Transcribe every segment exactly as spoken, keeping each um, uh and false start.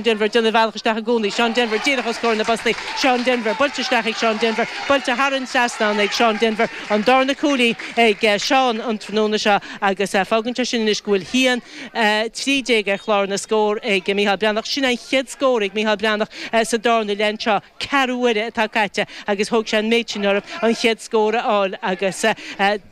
Denver déanamh a bhealach isteach i gcónaí. Seán Denver díreach os comhair na bpostaí. Seán Denver buailte isteach ag Seán Denver. Buailte thar an trasnán ag Seán Denver. An darna cúilín ag Seán an tráthnóna seo agus fágann sé sin anois go bhfuil haon trí déag ar chlár na scór ag Micheál Breathnach. Sin an chéad scór ag Micheál Breathnach sa darna leath anseo. Ceathrú uaire atá caite agus thóg sé an méid sin orthu an chéad scór a fháil agus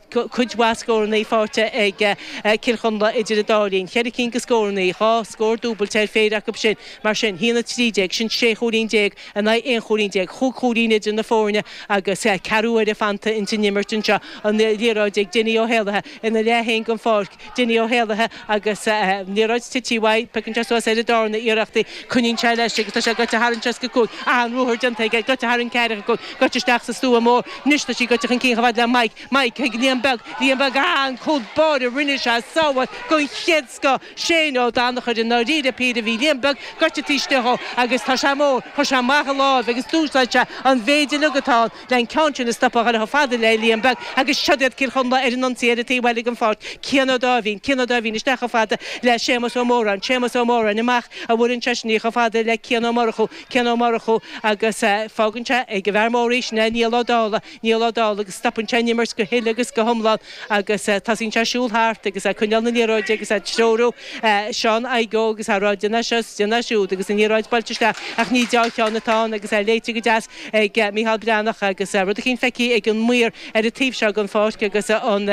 cuid mhaith scóranna faighte ag Cill Chonla idir an dá linn. Ceithre cinn de scóranna, dhá scór dúbailte ar phéire acu sin. Mar sin, haon a trí déag, sin sé chúilín déag in aghaidh aon chúilín déag, chúig chúilín idir na foirne agus ceathrú uaire fanta ins an imirt anseo. An liathróid ag Dinny Ó hÉallaithe ina leath féin den pháirc. Dinny Ó hÉallaithe agus liathróid tite uaidh, piocann sé suas ar an darna iarracht í, coinníonn sé leis agus tá sé gaibhte thar an tseasca cúig. An-ruathar déanta aige, gaibhte thar an ceathracha cúig, gaibhte isteach sa stua mór. Anois tá sí gaibhte chun cinn chomh fada le Mike. Mike chuig Liam Beag, Liam Beag, ah, an cúl báire, rinne sé sábháil den chéad scoth. Shane Ó Danachair i ndáiríre píre, bhí Liam Beag gaibhte taobh istigh dhó agus tá sé mór, chuir sé amach a láimh agus d'úsáid sé an mhéid uilig atá ann le an ceann sin a stopadh a dhul chomh fada le Liam Beag agus siod iad Cill Chonla ar an ionsaí ar an taobh eile den pháirc. Cian Ó Dáimhín, Cian Ó Dáimhín isteach chomh fada le Séamus Ó Móráin, Séamus Ó Móráin amach a bhfuair seisean í chomh fada le Cian Ó Murchú, Cian Ó Murchú agus fágann sé ag an bhfear mór í, sin é Niall Ó Dálaigh, Niall Ó Dálaigh agus stopann sé an imirt go huile agus go hiomlán agus tosaíonn sé ag siúl thart agus ag coinneáil na liathróide agus ag treorú Seán Igoe agus á rá déan é seo is déan é siúd agus an liathróid buailte isteach ach ní deá-cheann atá ann agus é léite go deas ag Micheál Breathnach agus rud eicínt feicthe ag an maor ar an taobh seo den pháirc agus an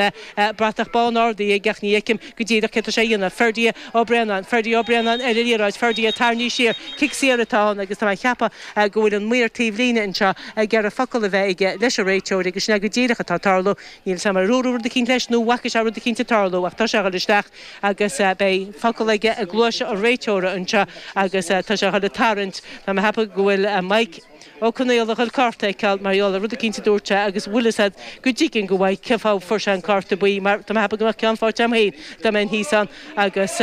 bratach bán ardaithe aige ach ní fheicim go díreach céard atá sé a dhéanamh. Ferdie Ó Braonáin, Ferdie Ó Braonáin ar an liathróid, Ferdie tarraingthe siar, cic saor atá ann agus tá mé ag ceapadh go bhfuil an maor taobh líne anseo ag iarraidh focal a bheith aige leis an réiteoir agus sin é go díreach atá ag tarlú. Níl 'fhios a'm ar dúradh rud eicínt leis nó an bhfaca sé rud eicínt ag tarlú ach tá sé a dhul isteach agus beidh focal aige i gcluais an réiteora anseo agus tá sé a dhul ag tarraingt. Tá mé ag ceapadh go bhfuil Mike Ó Conaola a dhul cárta a fheiceáil mar gheall ar rud eicínt a dúirt sé agus bhfuil fhios a'd go dtuigeann go bhfaighidh cén fáth a fuair sé an cárta buí mar tá mé ag ceapadh go mbeadh ceann faighte a'm féin dá mbeinn thíos ann agus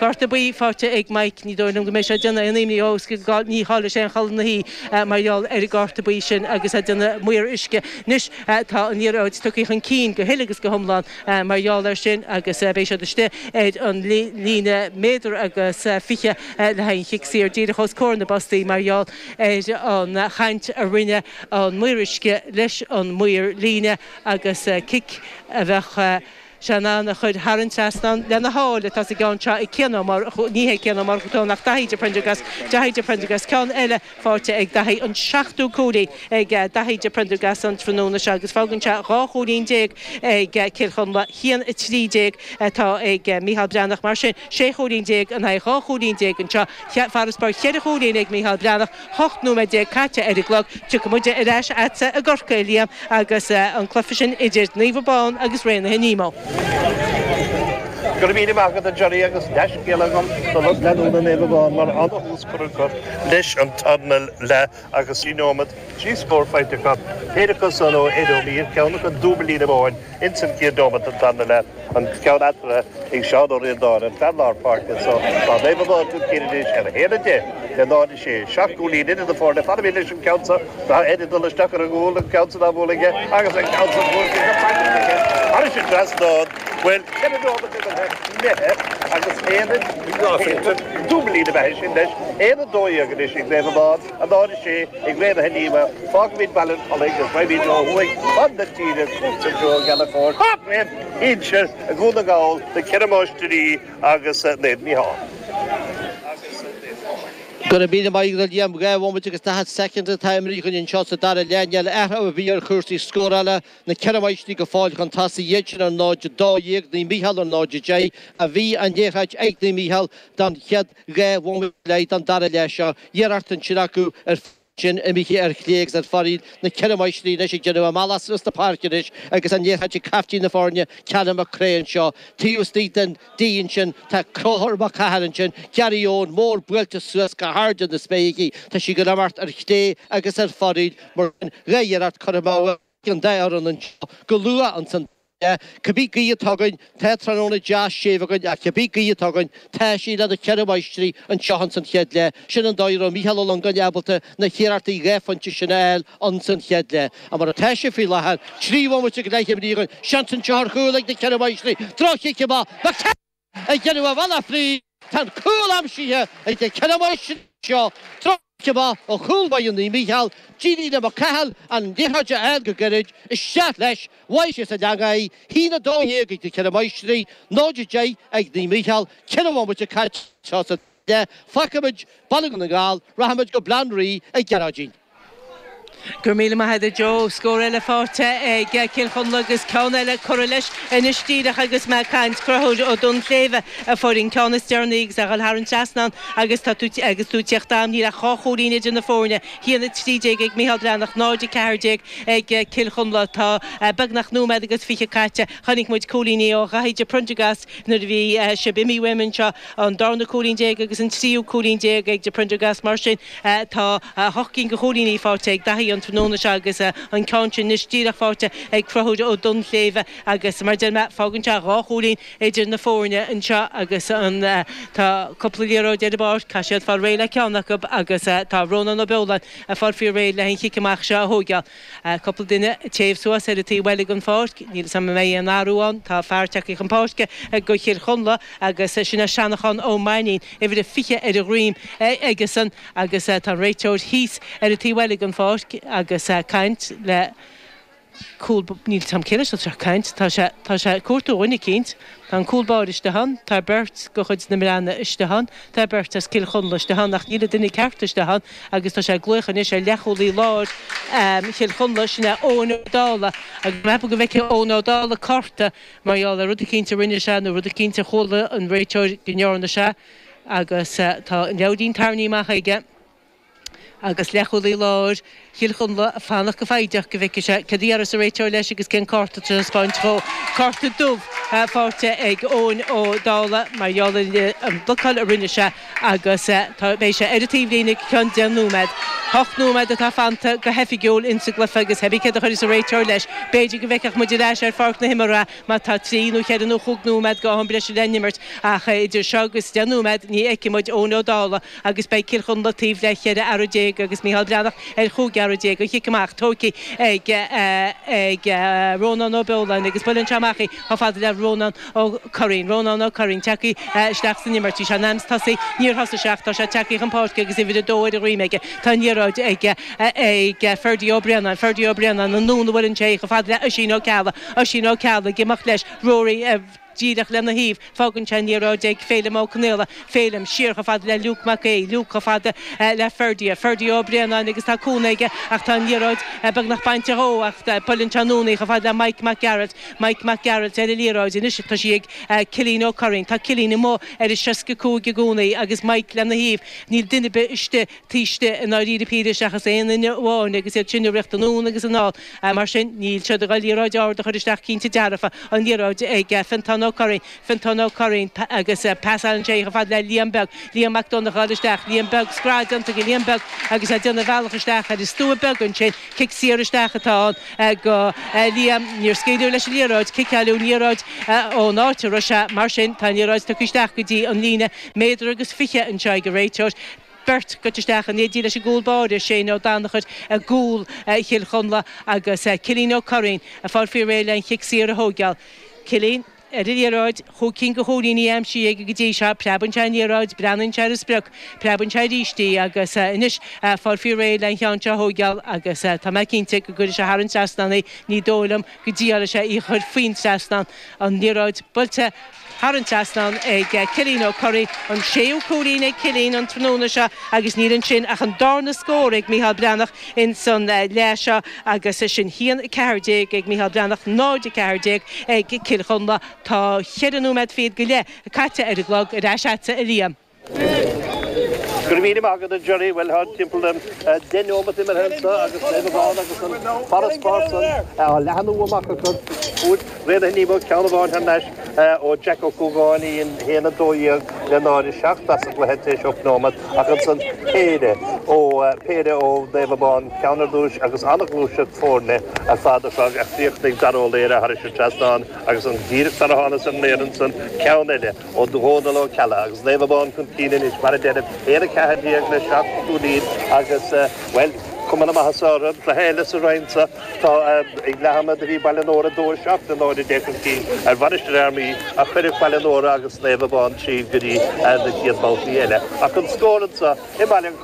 cárta buí faighte ag Mike ní dóigh liom go mbeidh sé ag déanamh aon imní dhó is go ní chaillfidh sé aon chodladh na hoíche mar gheall ar an gcárta buí sin agus é ag déanamh maor uisce. Anois tá an liathróid tugtha chun cinn go huile agus go hiomlán mar gheall air sin agus beidh siad istigh ar an líne méadar agus fiche le haghaidh an chic saor díreach os comhair na bpostaí mar gheall ar an chaint a rinne an maor uisce leis an maor líne agus cic a bheadh sé in ann a chur thar an trasnán lena sháil atá sa gceann seo ag Cian Ó Murchú, ní hé Cian Ó Murchú atá ann ach Daithí de Prendergast, Daithí de Prendergast, ceann eile faighte ag Daithí, an seachtú cúilín ag Daithí de Prendergast an tráthnóna seo agus fágann sé dhá chúilín déag ag Cill Chonla, haon a trí déag atá ag Micheál Breathnach. Mar sin, sé chúilín déag in aghaidh dhá chúilín déag anseo, farasbarr cheithre chúilín ag Micheál Breathnach. Ocht nóiméad déag caite ar an gclog. Tiocfaidh muid ar ais a'dsa i gCorcaigh, a Liam, agus an cluiche sin idir Naomh Abán agus Raonaithe Nemo. Go raibh míle maith agat a Johnny agus dea-scéala agam do lucht leanúna Naomh Abán mar an-thús curtha acu leis an tarna leath agus trí nóiméad, trí scór faighte acu, péire acu san ó Ed O'Meara, ceann acu dúbailín amháin ins an chéad nóiméad den tarna leath. An ceann eatarthu ag Seán Ó Ríordáin, an fear lár páirce anso. Tá Naomh Abán chun cinn anois ar a haon a deich le náid a sé. Seacht gcúilín idir na foirne. Fanfaimid leis an gceann seo. Tá Eddie ag dul isteach ar an gcúl, an ceann san á bhualadh aige agus an ceann san buailte go praiticiúil aige thairis an trasnán. Bhuel, ceithre nóiméad imeartha imithe agus aon a dúbailín ab ea é sin leis. Aon a dó dhéag anois ag Naomh Abán, a náid a sé ag Raonaithe Nemo. Fágfaimid Baile an Chollaigh agus raghaimid ó thuaidh chun na tíre, chugatsa Joe Ó Gallchóir, Craobh Shinsir Dhún na nGall, na Ceithre Máistrí agus Naomh Mícheál. Go raibh míle maith agat a Liam. Dhá bhomaite agus daichead soicind atá imeartha againn anseo sa dara leath. Níl athrú ar bith ar chúrsaí scórála. Na Ceithre Máistrí go fóill chun tosaigh, iad sin ar náid a dó dhéag, Naomh Mícheál ar náid a deich. A bhí an liathróid ag Naomh Mícheál don chéad dhá bhomaite go leith den dara leath seo. Iarracht ansin acu ar sin imithe ar chlé agus ar fóraoil, na Ceithre Máistrí anois ag déanamh a mbealach suas na páirce anois agus an liathróid ag caiftín na foirne, Callum Mac Craith anseo. Taobh istigh den D ansin tá Conchúr Mac Cathail ansin, Gary Eoin mór buailte suas go hard in na spéaclaí. Tá sí ag imeacht ar chlé agus ar fóraoil mar sin dhá iarracht curtha amú ag an dá fhoireann anseo go luath ansan. Cibé gaoth atá againn, tá tráthnóna deas séimh againn ach cibé gaoth atá againn, tá sí le na Ceithre Máistrí anseo ins an chéad leath. Sin an dóigh a raibh Mícheál Ó Longáin ábalta na hiarrachtaí dhá phointe sin a fháil ins an chéad leath. Ach mar atá sé faoi láthair, trí bhomaite go leith imeartha againn, seans anseo ar chúl ag na Ceithre Máistrí, droch-chic amach, Mac ag déanamh a bhealach fríd, tá an cúl aimsithe ag na Ceithre Máistrí. seo. Amach ó chúl báire Naomh Mícheál, Dílíne Mac Cathal an liathróid a fháil go gairid, isteach leis, bhain sé sa leanga í, haon a dó dhéag ag na Ceithre Máistrí, náid a deich ag Naomh Mícheál, ceithre bhomaite caite sa leath, fágfaimid Baile Dhún na nGall, rachaimid go Baile Átha Cliath ag Gearóidín. Go raibh míle maith agat Joe, scór eile faighte ag Cill Chonla agus ceann eile curtha leis anois díreach agus mé ag caint Conchúr Ó Duinnshléibhe a fuair an ceann is deireanaí agus a dhul thar an trasnán agus tá tú agus tú teacht am níl ach dhá chúilín idir na foirne haon a trí déag ag Mícheál Breathnach náid a ceathair déag ag Cill Chonla tá beagnach nóiméad agus fiche caite chonaic muid cúilíní ó Dhaithí de Prendergast nuair a bhí sibh imithe uaim anseo an darna cúilín déag agus an tríú cúilín déag ag de Prendergast mar sin tá hocht gcinn de chúilíní faighte ag Daithí an tráthnóna seo agus an ceann sin anois díreach faighte ag Conchúr Ó Duinnshléibhe agus mar deir mé fágann sé dhá chúilín idir na foirne anseo agus an tá cúpla liathróid ar an bpáirc tá siad fáil réidh le ceann acu agus tá Rónán Ó Beoláin ag fáil faoi réir le an chic amach seo a thógáil. Cúpla duine téamh suas ar an taobh eile den pháirc, níl sam mé an athrú ann, tá fear tagtha chun páirce go Chill Chonla agus sin é Seanachán Ó Mainín, uimhir a fiche ar a dhroim aigesan agus tá an réiteoir thíos ar an taobh eile den pháirc agus caint le cúl níl tam céile sé caint tá sé tá sé cuartú dhuine eicínt Tá an cúl báire istigh ann, tá beirt de chuid na mBreathnach istigh ann, tá beirt as Cill Chonla istigh ann ach níl an duine ceart istigh ann agus tá sé ag glaoch anois ar leathchúlaí láir Chill Chonla sin é Eoin Ó Dálaigh agus meapaim go bhfeicfidh Eoin Ó Dálaigh cárta mar gheall ar rud eicínt a rinne sé nó rud eicínt a chuala an réiteoir go ndearna sé agus tá an leabhairín tarraingthe amach aige. agus leathchúlaí láir Chill Chonla ag fanacht go foighdeach go bhfeicfidh sé cad a déarfas an réiteoir leis agus cén cárta a thaispeáint dhó. Cárta dubh faighte ag Eoin Ó Dálaigh mar gheall ar an bhlocáil a rinne sé agus tá beidh sé ar an taobhlíne go ceann deich nóiméad. Hocht nóiméad atá fanta go hoifigiúil insa gcluiche agus cibé céard a chuirfeas an réiteoir leis. B'fhéidir go bhfeicfeadh muid ar ais ar pháirc na himeartha má tá trí nó ceithre nó chúig nóiméad go am breise le n-imirt ach idir seo agus deich nóiméad ní fheicfidh muid Eoin Ó Dálaigh agus beidh Cill Chonla taobh le cheithre fhear déag agus Mícheál Breathnach ar chúig fhear déag an chic amach tógtha ag ag Rónán Ó Beoláin agus buaileann sé amach í chomh fada le Rónán Ó Curraoin. Rónán Ó Curraoin tagtha isteach san imirt. Bhí sé in ainm tosaí níor thosaigh sé ach tá sé tagtha chun páirce agus uimhir a dó ar a dhroim aige. Tá an liathróid ag ag Ferdie Ó Braonáin, Ferdie Ó Braonáin anonn a bhuaileann sé chomh fada le Oisín Ó Ceallaigh, Oisín Ó Ceallaigh ag imeacht leis Rory díreach lena thaobh, fágann sé an liathróid ag Féilim Ó Conaola, Féilim siar chomh fada le Luke Mac Aodha, Luke chomh fada le Ferdie, Ferdie Ó Braonáin agus tá cúnamh aige ach tá an liathróid beagnach bainte dhó ach buaileann sé anonn í chomh fada le Mike Mac Gearailt, Mike Mac Gearailt ar an liathróid anois tá sí ag Cillian Ó Curraoin, tá Cillian amuigh ar an seasca cúig i gcónaí agus Mike lena thaobh, níl duine ar bith istigh taobh istigh i ndáiríre píre seachas aon duine amháin agus iad sin ag rith anonn agus anall mar sin níl siad ag dul liathróid ard a chur isteach cinnte dearfa an liathróid ag Fintán Ó Curraoin, Fintán Ó Curraoin agus pasálann sé chomh fada le Liam Beag, Liam Mac Donncha isteach, Liam Beag scread déanta ag Liam Beag agus é ag déanamh a bhealach isteach ar an stua beag ansin, cic saor isteach atá ann go Liam, níor scaoileadh leis an liathróid, ciceáileadh an liathróid ón áit a raibh sé mar sin tá an liathróid tugtha isteach go dtí an líne méadar agus fiche anseo ag an réiteoir. Beirt goite isteach in éindí leis an gcúl báire, Shane Ó Danachair i gcúl Chill Chonla agus Cillian Ó Curraoin ag fáil faoi réir le an chic saor a thógáil. Cillian ar an liathróid, chúig cinn de chúilíní aimsithe aige go dtí seo, preabann sé an liathróid, breathnaíonn sé ar an sprioc, preabann sé arís í agus anois fáil faoi réir le an cheann seo a thógáil agus tá mé cinnte go gcuirfidh sé thar an trasnán í, ní dóigh liom go dtriailfidh sé í a chur faoin trasnán. An liathróid buailte thar an trasnán ag Cillian Ó Curraoin, an séú cúilín ag Cillian an tráthnóna seo agus níl ansin ach an darna scór ag Mícheál Breathnach in san leath seo agus sin haon a ceathair déag ag Mícheál Breathnach, náid a ceathair déag ag Cill Chonla. Tá cheithre nóiméad fichead go leith caite ar an gclog ar ais agatsa a Liam. Go raibh míle maith agat a Jerry, bhuel tá timpeall deich nóimeat imithe anseo agus Naomh Abán agus an farasbarr san á leathnú amach acu. Fuair Bréanainn Ní Bheag ceann amháin thar n-ais ó Jack Ó Cúgáin í a haon a dó dhéag le náid a seacht as an gcluiche tar éis ocht nóimeat ach ansan péire ó péire ó Naomh Abán ceann ar dtús agus an-ghluaiseacht foirne ar fad a chríochnaigh Dara Ó Laoire thar an trasnán agus an díreach sar a thánas ar an aer ansan ceann eile ó Dhónal Ó Ceallaigh agus Naomh Abán chun cinn anois mar a deirim, aon a ceathair déag le seacht gcúilín agus, bhuel, Cuma na maitheasa orthu. Cluiche eile sa roinn seo tá ag leath ama do bhí Baile an Óra dó seacht a náid déag chun cinn ar Mhainistir Fhear Maí ach cuireadh Baile an Óra agus Naomh Abán tríd go dtí na chéad babhtaí eile. Ach an scór anseo i mBaile an